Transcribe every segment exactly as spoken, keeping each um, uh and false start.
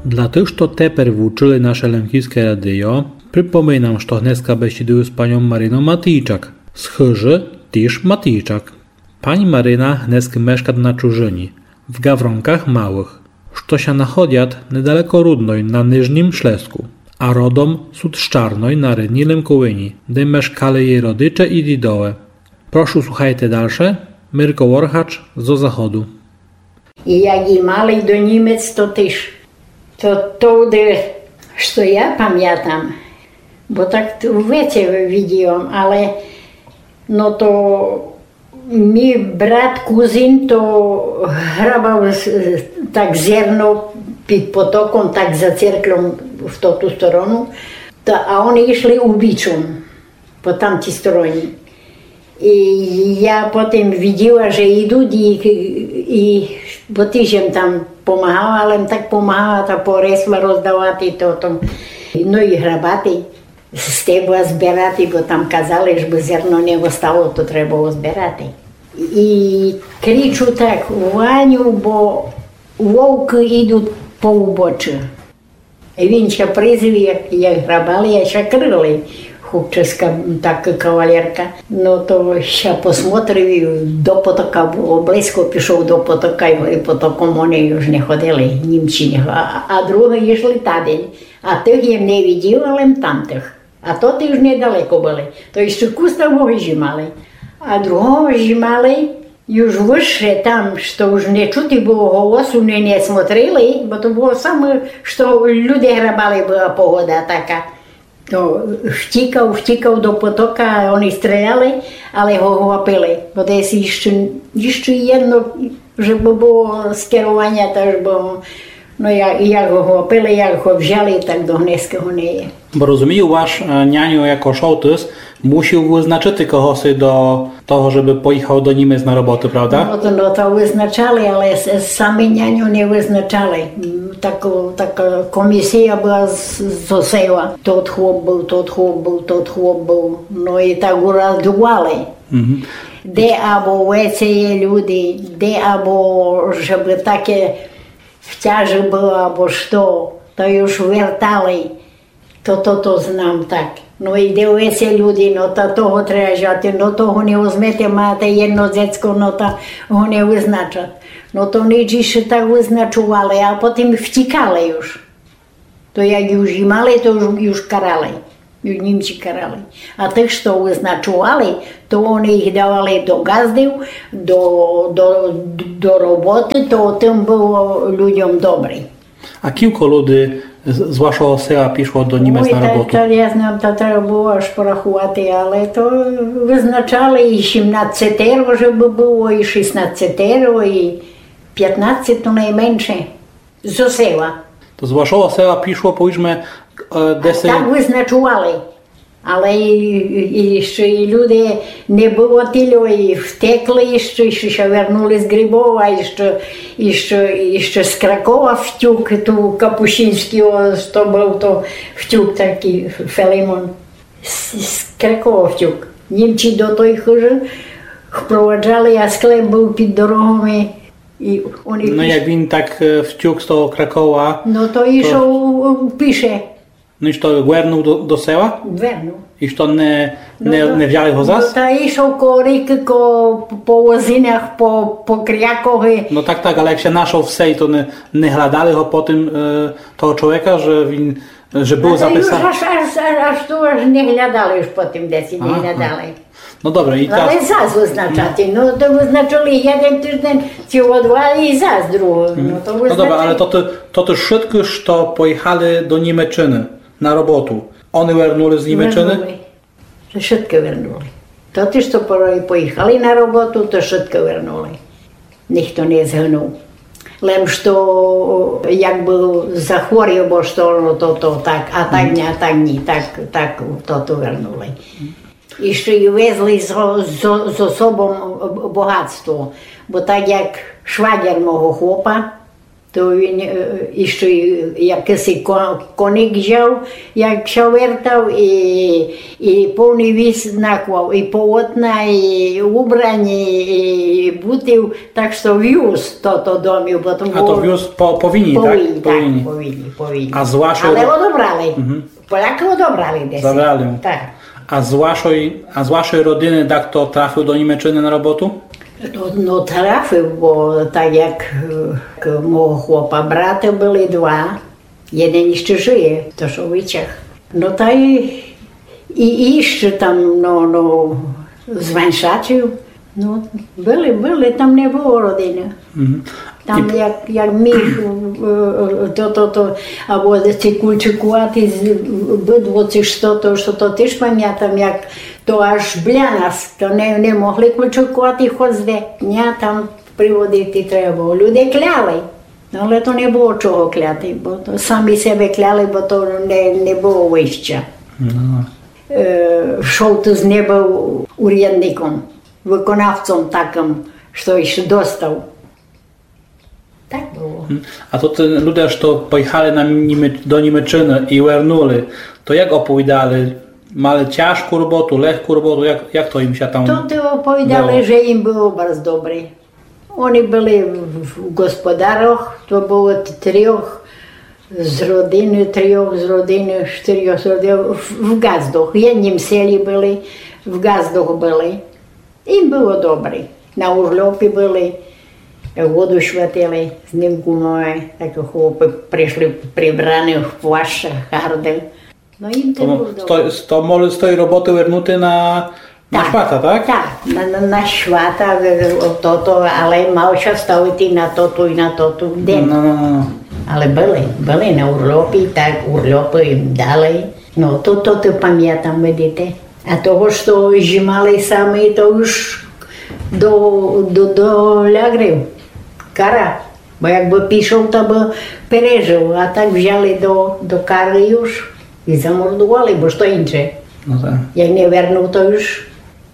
Для тых, што тепер вучыли наше Лемківске радіо, припоминам, што гнеска бесідую з паньом Марином Матійчак, з хыжы тіж Матійчак. Пані Марина гнескы мешкат на чужыні, в Гавронках Малых, што ся находят недалеко Рудной на Нижнім Шлеску, а родом сут з Чарной на Рідній Лемковині, де мешкали єй родиче і дідове. Прошу, слухайте дальше. Мирко Воргач зо заходу. І як і мали до Німец, то тіж. То товды, што я памятам, бо так то веце виділа, але, но то мій брат, кузин, то грабав з-, так зерно під потоком, так за церкльом в тоту сторону, та, а они йшли убічом по тамтій стороні. І я потім виділа, же йдуть, і, і, бо тіж єм там помагала, але єм так помагала, та поресла роздавати, то там, но і грабати, з стебла збирати, бо там казали, жебы зерно не остало, то треба збирати. І кричу так: «Ваню, бо вовкы йдуть по убочы». І він ся призвів, як, як грабали, а ся крыли. Хлопчиська, така кавалерка. Но то ся посмотрив і до потока, бо близько пішов до потока, і, і потоком они уж не ходили, Німці не, а, а другы йшли тадень. А тых єм не виділа, лем тамтых. А то тіж недалеко были. То іщы кус там го жімали. А другого жімали, юж выше там, што уж не чути было голосу, не, не смотрили, бо то было саме, што люде грабали, была погода така. То втікав, втікав до потока, они стріляли, але го хвапили. Бо десь іщы, іщы єдно, жебы было скерованя, та жебы, но, я, як го хвапили, як го взяли, так до гнеска го не є. Бо розумію, ваш, е, няньо яко шовтыс мусів вызначыти когоси до того, жебы поіхав до Німец на роботу, правда? Но то, но то вызначали, але с-, сами няньо не вызначали. М, тако, така комісія была з, зо села. Тот хлоп быв, тот хлоп быв, тот хлоп быв. Но і так ураздували. Мгм. Де або веце є люди, де або жебы таке в тяжи было, або што, то юж вертали. То, то, то знам так. Но, йде веце люди, но, та того треба жати, но, того не возьмете, мате єдно дзецко, но, та го не вызначат. Но, то нич іщы так вызначували, а потім втікали юж. То як юж і мали, то юж, юж карали. Юж Німці карали. А тых, што вызначували, то они їх давали до ґаздів, до, до, до роботы, то тым было людям добрі. А кілько люди з, з вашого села пішло до Німець на роботу? Ой, та, та я знам, та треба было аж порахувати, але то вызначали і сімнадцетеро, жебы было, і шістнадцетеро, і пятнадцет то найменше. Зо села. То з вашого села пішло, повіджме, е, десять. Так вызначували. Але і, і, і іщы і люди не было тільо, і втекли, іщы, іщы ся вернули з Грибова, іщы, іщы, іщы з Кракова втюк, ту Капущинськый, о, то быв то втюк такый Фелимон. З, з Кракова втюк. Німці до той хыжы впроваджали, а склеп быв під дорогами. І они... Но, як він так, е, втюк з того Кракова, но то, то ішов, е, піше. Но, і што, вернув до, до села? Вернув. І што, не, не, но, не взяли го зас? Но, та ішов коло рікы, коло, по возинах, по, по крякови. Но так, так, але як ся нашов в селі, то не, не глядали го потім, е, того чоловіка, же він, же быв записаный? Аж, аж, аж, аж ту аж не глядали, аж потім десь не глядали. Но добре, і... Але зас вызначати, но, то вызначили єден тыждень, ціло два і зас другый. Но, то вызначили. Но добре, але то, то, то вшыткы, што поіхали до Німеччыны на роботу, они вернули з Німеччыны? Вернули. То вшыткы вернули. То ті, што по-, поіхали на роботу, то вшыткы вернули. Ніхто не згынув. Лем што, як быв захворів, бо што, но, то, то так, а так ні, а так ні, так, так, то, то вернули. І што й везли зо, зо, зо собом богатство. Бо так як швагер мого хлопа, То він, е, іщы якысий ко-, коник взяв, як ся вертав, і, і повный віз наклав, і полотна, і убрані, і бутів, так што вюз тото домів, бо то... А то было вюз по, по війні, так? По війні, так, по війні, по війні. А з вашої... Але одобрали. Мгм. Полякы одобрали десь. Забрали. Так. А з вашої, а з вашої родины дахто трафив до Німеччыны на роботу? Но, но, трафив, бо так як, е, к-, мого хлопа браты были два, єден іщы жыє, то што вычах. Но та і, і, і іщы там, но, но, з Ваншачів, но, были, были, там не было родины. Мгм. Там і як, як міх, е, е, то, то, то, або ці кульчыкуваті з-, быдло, ци што то, што то тыж памятам, як то аж біля нас, то не, не могли кульчыкуваті хоц де. Ня, там приводити треба было. Люде кляли. Но, але то не было чого кляти, бо то самі себе кляли, бо то не, не было выйща. Но. Е, Шолтыс не быв урядником, выконавцом такым, што іщы достав. Так было. Мгм. А то тоты люде, што поіхали на Німеч-, до Німеччыны і вернули, то як оповідали? Мали тяжку роботу, легку роботу? Як, як то ім ся там... То, то оповідали, было, же ім было барз добрі. Они были в, в господарох, то было т-, трьох з родины, трьох з родины, штырьох з родины, в, в ґаздох. В єднім селі были, в ґаздох были. Ім было добрі. На урльопі были, воду святили, з ним кумове, так хлопы пришли прибраны в плащах гардых. Но, ім то было добрі. З той, з, то могли з той роботы вернути на, на швата, так? Так, на, на, на швата, е, тото, але мав ся ставити на тото і на тото ден. Но, но, но, но. Але были, были на урльопі, так урльопы ім дали. Но, то, то, то памятам, видите. А того, што жымали самі, то уж до, до, до лягрів. Кара. Бо якбы пішов, то бы пережыв. А так взяли до, до кары уж і замордували, бо што інше. Но так. Як не вернув, то уж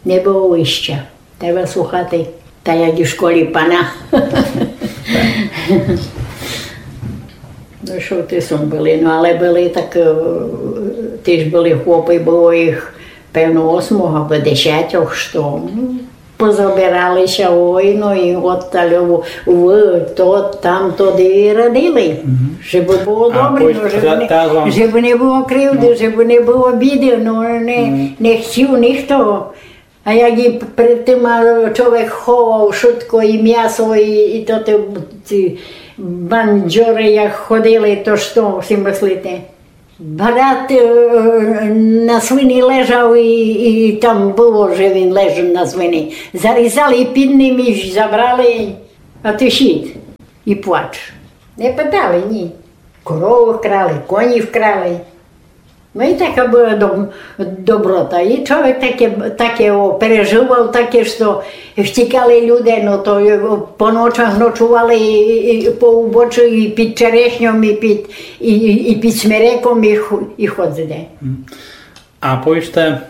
не было выйща. Треба слухати. Та як у школі пана. Но, што ты сом были, но, але были так, е, тыж были хлопы, было іх, певно, осьмох або десятьох, што, м, позабирали ся, ой, но, і от та любов, вы, то, там, то, де і радили. Мгм. Жебы было добрі, но, жебы не, жебы не было кривды, жебы не было біды, но, не, не хтів ніхто. А як і пред тым, а, чоловік ховав шытко, і мясо, і, і то, ті, ті бандьоры, як ходили, то што сі мыслите? Брат, е, на свині лежав і, і там было, же він лежав на свині. Зарізали під ним і забрали, а ты сід і плач. Не питали, ні. Коровы вкрали, коні вкрали. Но і така была доб-, доброта. І чоловік таке, таке, о, пережывав, таке, што втікали люде, но то, е, по ночах ночували і, і, і по убочы, і під черешньом, і під, і, і, і під смереком, і ху-, і хоц де. Мгм. А повіджте,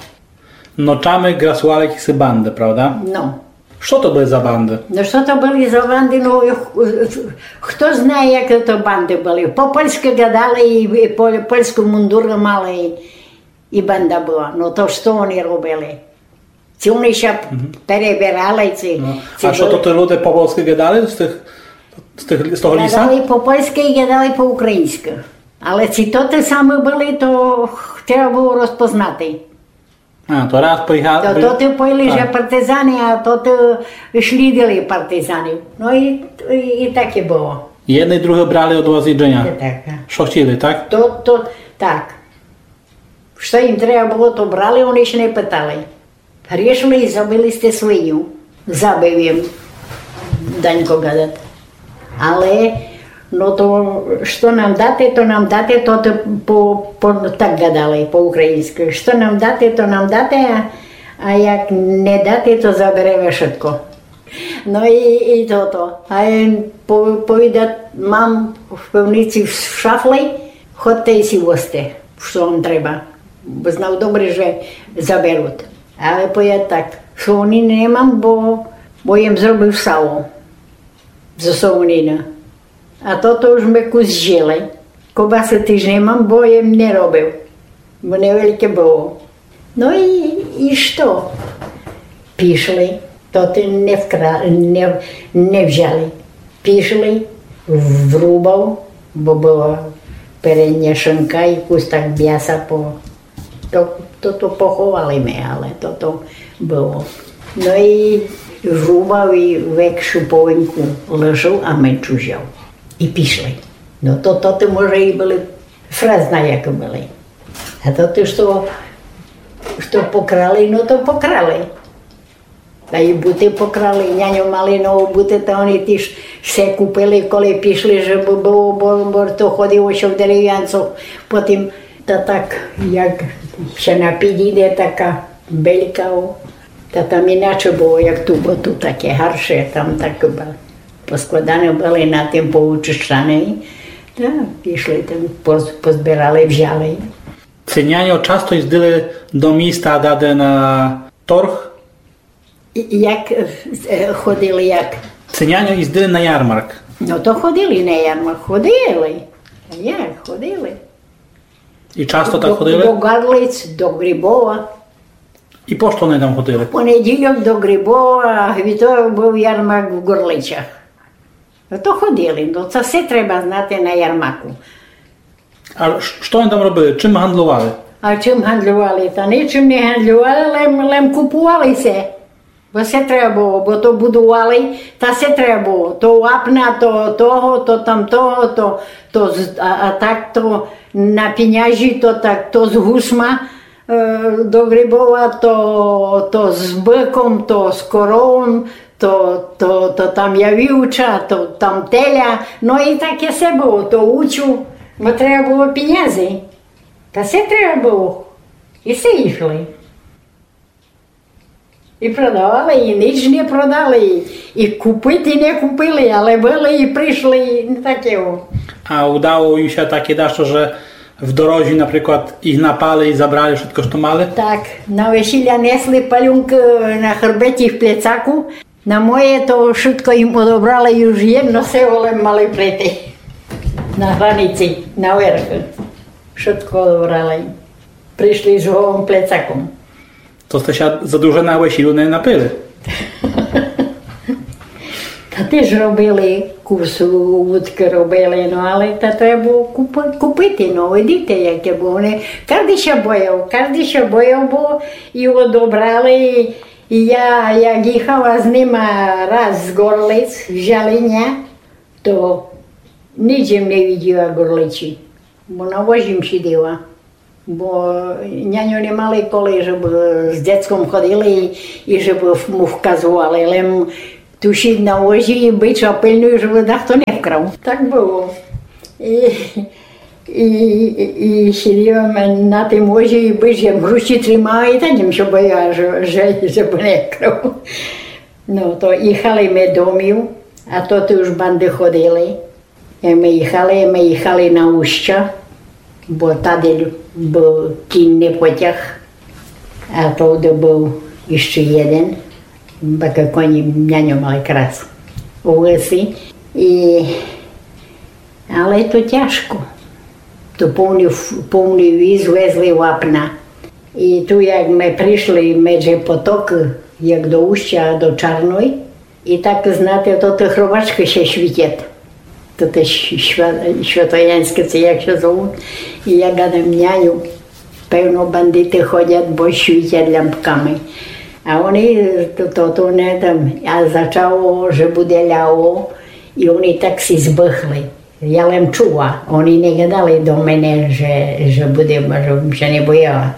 ночами грасували якісь банды, правда? Но. Што то были за банды? Но, што то были за банды? Но, х-, х-, хто знає, які то банды были. По польскы гадали і, і по-, польскы мундуры мали, і, і банда была. Но, то што они робили? Ци они ся перебирали, ци... Но, ци а што были, то ті люде по польскы гадали з тых, з тых, з того ліса? Гадали по польскы і гадали по україньскы. Але ци то ті самы были, то х-, треба было розпознати. А, то раз поіхали. То, то тоты повіли, же партизаны, а тоты слідили партизанів. Но і, і, і таке было. Єдны і другы брали од вас іджыня. Е, так, так. Што хтіли, так? То, то, так. Што ім треба было, то брали, они ся не питали. Грішили і забили сте свиню. Забив єм, Данько гадат. Але, но то, што нам дате, то нам дате, то, то по, по, так гадали, по україньскы. Што нам дате, то нам дате, а, а як не дате, то забереме шытко. Но і, і тото. А єм по-, повідат, мам в пивници в шафлі, ходте і сі возте, што вам треба. Бо знав добрі, же заберут. Але повідат так, солонины не мам, бо, бо єм зробив сало. Зо солонины. А тото уж мы кус зїли. Кобасы тыж не мам, бо єм не робив. Бо невельке было. Но і, і што? Пішли. То ты не вкра-, не, не взяли. Пішли, врубав, бо была передня шинка і кус так мяса по-, то, то, то поховали мы, але то, то было. Но і врубав і векшу половинку лишив, а меншу взяв. І пішли. Но то, то ты, може, і были фрезна, як были. А то ты што, што покрали, но то покрали. Та і буты покрали, няньо мали нову буты, та они тыж всьо купили, коли пішли, жебы было, бо, бо то ходило ся в деревянцю. Потім, та так, як ся на під іде, така белька, о, та там іначе было, як ту, бо ту таке гарше, там так ба-, поскладаны были на тым, поучищаны. Та пішли там, поз-, позбирали, взяли. Ци няньо часто їздили до міста, даде на торг? І-, як, е, ходили, як? Ци няньо їздили на ярмарк? Но то ходили на ярмарк, ходили. А як, ходили. І часто так ходили? До Горлиць, до Грибова. І по што они там ходили? В понеділок до Грибова, а вівторок быв ярмарк в Горлицях. Но то ходили, но то всьо треба знати на ярмарку. А ш-, што они там робили? Чым гандлювали? А чым гандлювали? Та ничым не гандлювали, лем, лем купували всьо. Бо всьо треба было, бо то будували, та всьо треба было. То вапна, то того, то тамтого, то, то з-, а, а так то на піняжі, то так, то з гусма, е, до Грибова, то, то з быком, то з коровом, то, то, то там явівча, то там теля. Но і таке всьо было, то учу, бо треба было пінязи. Та всьо треба было. І всьо їхали. І продавали, і ніч не продали, і, і купити не купили, але были і пришли, і не таке, о. А удало їм ся таке дашто, же в дорозі, наприклад, їх напали і забрали вшытко, што мали? Так, на весіля несли палюнкы на хрбеті в плецаку. На моє то вшытко їм одобрали, уж єдно село лем мали прийти. На границі, наверх. Вшытко одобрали. Пришли з голым плецаком. То сте ся за дуже на весілю не напили? Та тыж робили, кус удкы робили, но, але та треба было купи-, купити, но, видите, яке было. Не, каждый ся бояв, каждый ся бояв, бо і одобрали, і я, як їхала з нима раз з Горлиць, з Жаліня, то ніч єм не виділа Горлиці, бо на возі єм сиділа. Бо няньо не мали коли, жебы з дзецком ходили і, і жебы му вказували, лем тушіт на возі і быч пильнуй, жебы дахто не вкрав. Так было. І, і, і, і сиділа єм на тым возі, і быч єм в руці тримала, і так єм ся бояла, же, же, жебы не вкрав. Но, то їхали мы домів, а то туй уж банды ходили. Як мы їхали, мы їхали на Устя, бо тады лю-, быв кінный потяг, а товды быв іщы єден, бо коні няньо мали якраз у лесі. І, але то тяжко. То повный ф-, повный віз везли вапна. І ту, як мы пришли медже потокы, як до Устя, до Чарной, і так, знате, то тых робачкы ся світять. То те сь-, сва-, святоянськы, ци як ся зовут. І я гадам, няню, певно, бандиты ходять, бо світять лямпками. А они, то, то, то не там, а зачало, же буде ляло, і они так си збыхли. Я лем чула, они не гадали до мене, же, же буде, же бым ся не бояла.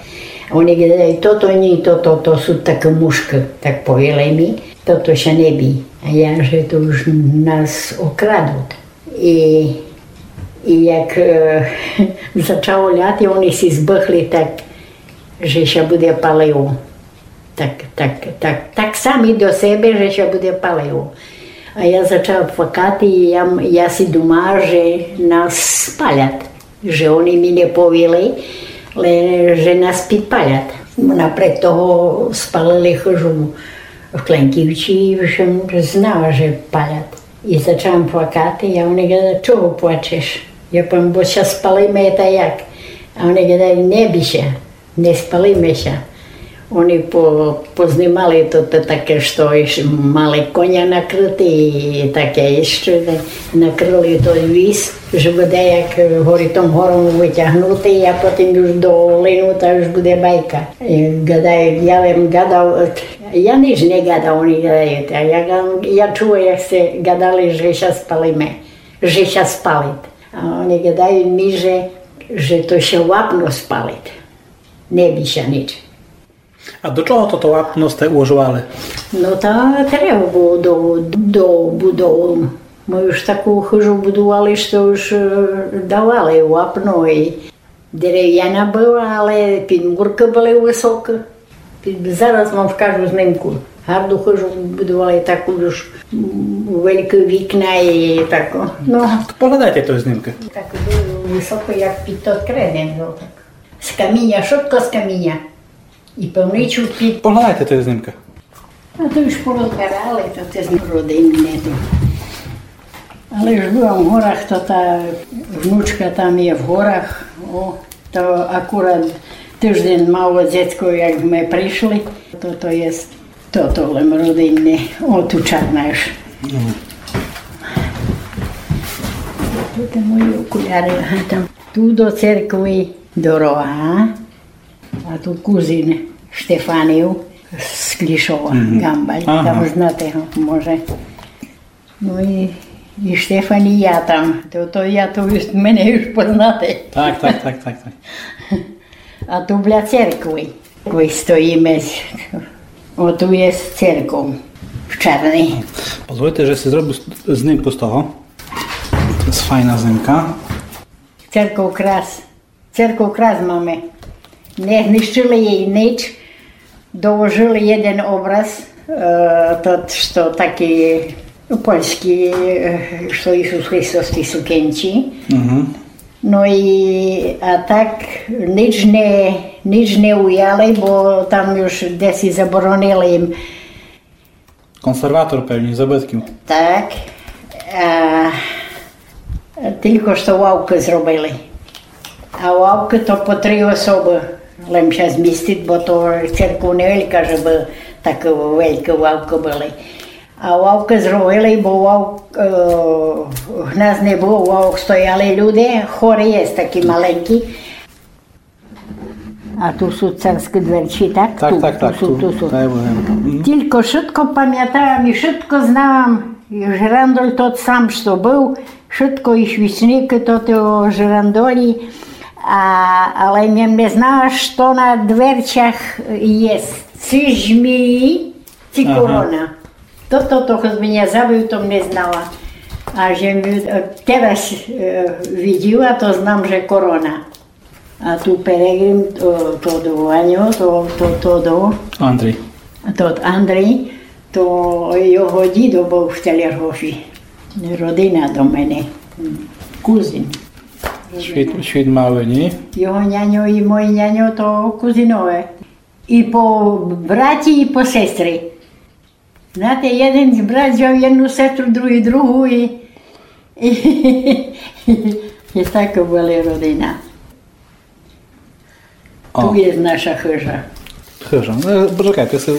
Они гадали, тото ні, тото, то сут такы мушкы, так повіли мі, тото ся не бій. А я, же то уж нас окрадут. І, і як, е, зачало ляти, они си збыхли так, же ся буде палило. Так, так, так, так самі до себе, же ся буде палило. А я зачала плакати, і я, я си думала, же нас спалять, же они мі не повіли, ле, же нас підпалять. Напред того спалили хыжу в Кленківці, і вже знала, же палять. И зачав им плакати, а они гадают: «Чого плачеш?» Я повім: «Бо ся спалиме, та як?» А они гадают: «Не бій ся, не спалиме ся». Они по-, познимали то, то таке, што іщ мали коня накрыти, и таке іщы накрыли тот віз, же буде як, е, горі тым гором вытягнути, а потім уж до Линута уж буде байка. И гадают, я им гадав, е, я нич не гадав, они гадают, а я га-, я чула, як сте гадали, же ся спалиме, же ся спалит. А они гадают ми, же, же то ся вапно спалит. Не бій ся нич. А до чого тото вапно сте уложовали? Но та треба было до, до будовы. Мы уж таку хыжу будовали, што уж, е, давали вапно и деревяна была, але підмуркы были высокы. Під-, зараз вам вкажу знимку. Гарду хыжу будовали, таку уж, м, великі вікна и таку. Но. Поглядайте тої знимкы. Так было высоко, як під тот креден, но так. З каміня, шытко з каміня. И певничу під... Поглядайте тої знимкы. А то уж порозбирали, то це з родины не то. Але уж была в горах, то та внучка там є в горах. О, то акурат тыждень мало дзецько, як мы пришли. То, то є, то, то лем родинне. О, ту чарна уж. Туй мої окуляры, ага, там. Ту до церкви дорога. А ту кузин Штефанів з Клішова, Гамбаль. Ага. Там знате го, може. Но и, и Штефан, и я там. То, то я, то уж мене уж познате. Так, так, так, так, так. А ту біля церкви. Кой стоїме, о, ту є церков в Чарній. Позвольте, же си зробив з-, знимку з того. То є файна знимка. Церков крас. Церков крас маме. Не знищыли єй нич. Доложыли єден образ, е, тот, што такій, ну, польскій, е, што Ісус Христос в тій сукенці. Мгм. Но и, а так нич не, нич не уяли, бо там уж деси заборонили їм. Консерватор певні забытків. Так. А, тілько што лавкы зробили. А лавкы то по три особы лем ся змістит, бо то церков невелька, жебы так великі лавкы были. А лавкы зробили, бо лав-, е, в нас не было лавок, стояли люди, хоры є такі маленькі. А ту сут царські дверці, так? Так, ту, так, ту так, сут, ту, ту сут. Дай Боже. Мгм. Тілько шытко памятам и шытко знам. И жырандоль тот сам, што быв, шытко и свічникы тот у жырандолі. А, але єм не знала, што на дверцях є. Ци жмії, ци корона. Тото, то, то, хто з мене забыв, то не знала. А же ми, е, тераз, е, виділа, то знам, же корона. А ту Перегрим, то, то до Ваню, то, то, то до... Андрій. Тот Андрій, то його дідо быв в Телергофі. Родина до мене. Кузин. Світ, світ малый, ні? Його няньо и мой няньо, то кузинове. И по браті, и по сестри. Знате, єден брат взяв єдну сестру, другій другу и, и, и така была родина. О. Ту є наша хыжа. Хыжа. Е, почекай, ты си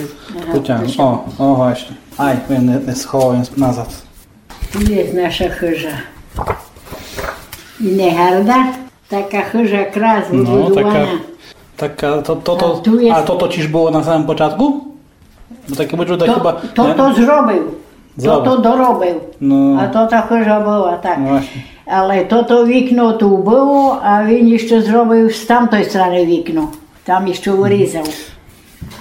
потягнув. О, о, власне. Ай, він не, не сховав, він назад. Ту є наша хыжа. И не гарда, така хыжа крас выбудована. Така, така, то, то, то, а тото тіж было на самым початку? Бо таке быв, то хіба... Тото зробив. Зробив. Тото доробив. Но. А то та хыжа была, так. Но, власне. Але тото вікно ту было, а він іщы зробив з тамтой страны вікно. Там іщы вырізав.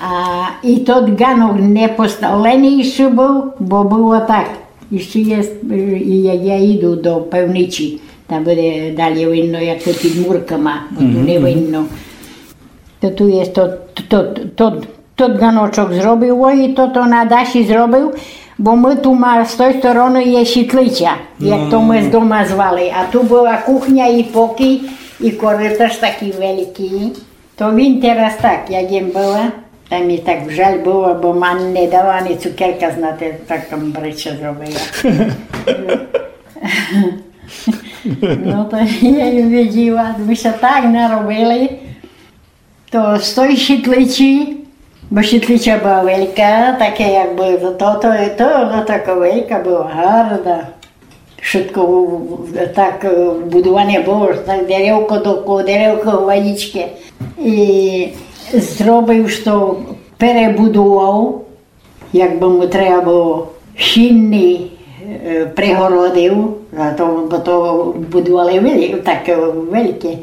А и тот ґанок не поставленый іщы быв, бо было так. Іщы є, е, и як я іду до пивницї, там буде далі видно, як то під мурками, бо ту не видно. То ту є тот, тот, тот, тот ґаночок зробив, о, и тото на даші зробив, бо мы ту ма-, з той стороны є сітлиця, як то мы з дома звали. А ту была кухня и покій, и корыташ такій великій. То він тераз так, як єм была. Та мі так жаль было, бо мам не дала ани цукерка, знате, так там бреча зробила. Но то я їм виділа, мы ся так наробили, то з той щітличі, бо щітлича была велька, таке якбы то, то, то, но така велька была, гарда. Вшытко в-, в-, так, е, будуване было, так деревко до ко-, деревко, гвоздичкы. І зробив, што перебудував, якбы му треба было, щінный, е, прегородив, а то, бо то будували велі-, так, е, вельке.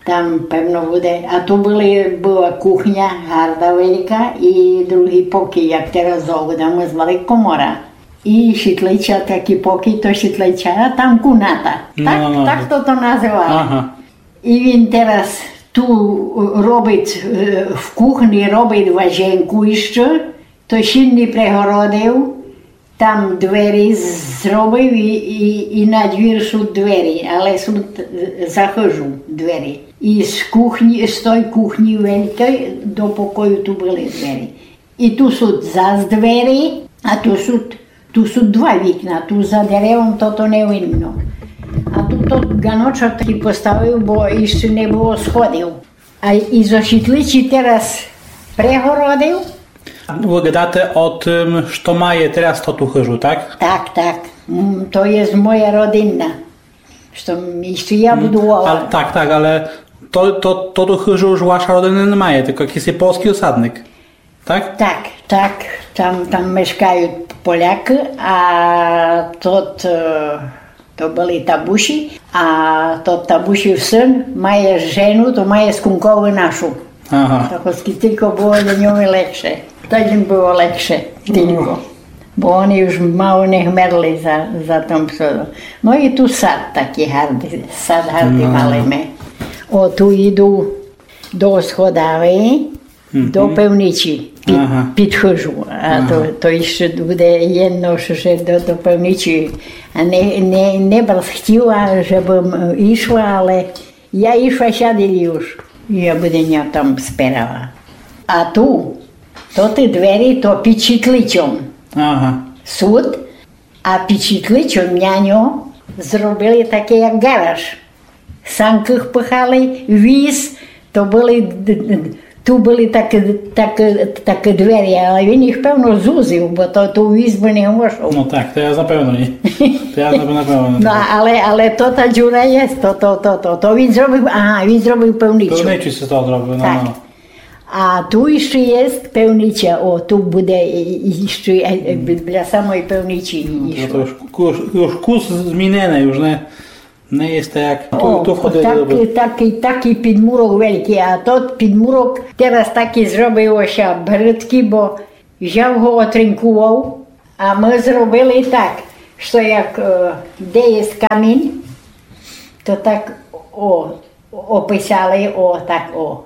Там, певно, буде. А ту были, была кухня, гарда велька, і другый покій, як тераз зовут, а мы звали комора. І щітлича, такый покій, то щітлича, а там кімната. Но, так, но, но. Так то, то называли. Ага. І він тераз ту, е, робить, е, в кухні робить важенку іщы, то щінный прегородив, там двері з-, зробив і, і, і на двір сут двері, але сут, е, за хыжу двері. І з кухні, з той кухні велькой до покою ту были двері. І ту сут зас двері, а ту сут, ту сут два вікна, ту за деревом то, то не видно. А ту тот ґаночок такый поставив, бо іщы не было сходів. А і зо щітличі тераз прегородив. Вы гадате о тым, што має тераз тоту хыжу, так? Так, так. М, то єст моя родинна. Што м, іщы я будувала. А, так, так, але то, то, тоту хыжу уж ваша родина не має, тілько якысь польскій осадник. Так? Так, так. Там, там мешкают Полякы, а тот, е, то были Табусі, а тот Табусів сын має жену, то має з Кунковы нашу. Ага. Так ось тілько было для нього легше. Так їм было легше, тілько. Бо они уж мало не вмерли за, за тым всьом. Но і ту сад такый гардый, сад гардый мали мы. О, ту іду до сходавы, до пивничі, під, під хыжу. А то, то іщы буде єдно, што ще до, до пивничі. А не, не, не барз хтіла, жебым, е, ішла, але я ішла сяделі уж. Я буде ня там сперала. А ту, то тоты двері, то під щітличом. Ага. Сут, а під щітличом няньо зробили такый як ґараж. Санкы пхали, віз, то были д-, д-, ту были такы, такы, такы двері, але він їх, певно, зузив, бо то, ту віз бы не вошов. Но так, то я напевно ні. То я напевно ні. Но, але, але то та дзюра єст, то, то, то, то, то він зробив, ага, він зробив пивничу. Пивничу сі то зробив, но, но. А ту іщы єст пивнича, о, ту буде і, і іщы, е, е, бі-, біля самой пивничі. Но, то, то уж кус, уж кус зміненый, уж не, не єст так, як ту, ту входили. О, такый, такый, такый підмурок велькый, а тот підмурок тераз такый зробив ся брыдкый, бо взяв го, отринкував, а мы зробили так, што як, е, де єст камінь, то так, о, описали, о, так, о.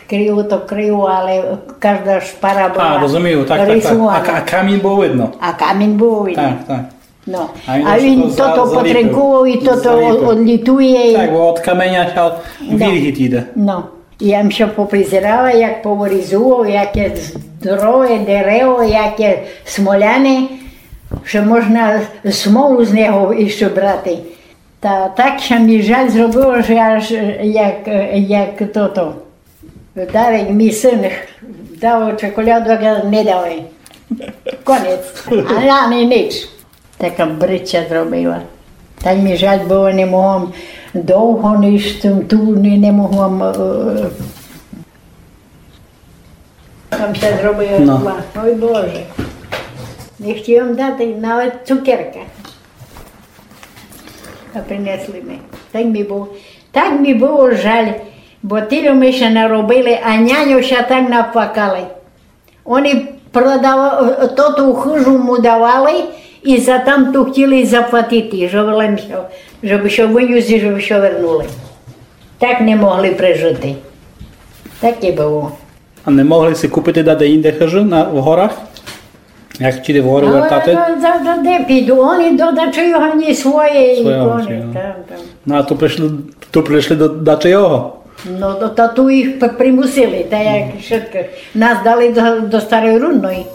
Криво то криво, але кажда шпара была рисувана. А, розумію, так, так, так. А ка-, а камінь было видно? А камінь было видно. Так, так. Но. А він тото потринкував і тото одлітує. Так, бо од каменя ся віргіт іде. Но. Я м ся попризирала, як повырізував, яке здорове дерево, яке смоляне, што можна смолу з нього іщы брати. Та так ся мі жаль зробило, што аж, е, як, е, як тото. Дарик, мій сын, дав чоколяду, а я не дав. Конець. А я ні, ніч. Така брыдча зробила. Так мі жаль было, не могла м довго ніч тым, ту не, не могла м, е, Там ся зробила зла. Ой, Боже. Не хтіла м дати навет цукерка. А принесли ми. Так мі было, так мі было жаль, бо тілько ми ся наробили, а няньо ся так наплакали. Они продава-, тоту хыжу му давали і за тамту хтіли заплатити, жебы лем ся, жебы ся вынюсти, жебы ся вернули. Так не могли прежыти. Так і было. А не могли си купити даде інде хыжу на, в горах? Як хтіли в горы вертати? А, да, да, да, де піду? Они до дачийого, ні, своєї. Своєї, там, там. Но а ту пришли, ту пришли до дачийого? Но, то, то ту їх п-, примусили, та як швидко. Нас дали до, до Старої Рудної.